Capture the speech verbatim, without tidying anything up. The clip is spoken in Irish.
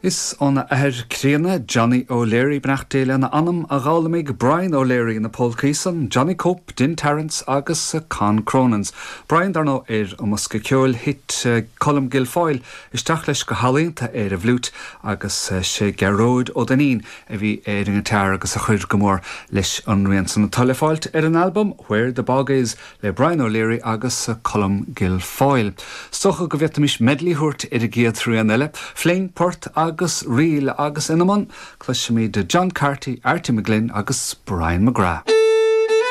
Is óna athair críonna Johnny O'Leary beannacht Dé lena anam a d'fhoghlaim Brian O'Leary na polcaí san, Johnny Cope, Din Terence agus Con Cronins. Brian dar ndóigh ar an mbosca ceoil thit Colm Guilfoyle isteach leis go healaíonta ar an bhfliúit agus sé Gearóid Ó Duinnín a bhí ar an ngiotár agus a chuir go mór leis an rian san atá le fáilt ar an album Where the Bog Is le Brian O'Leary agus Colm Guilfoyle. Is dócha go bhféadfaimis medley a thabhairt ar an gcéad rian eile, Fling Port agus Ríl agus ina mbun, cloisimid John Carty, Artie McGlynn agus Brian McGrath.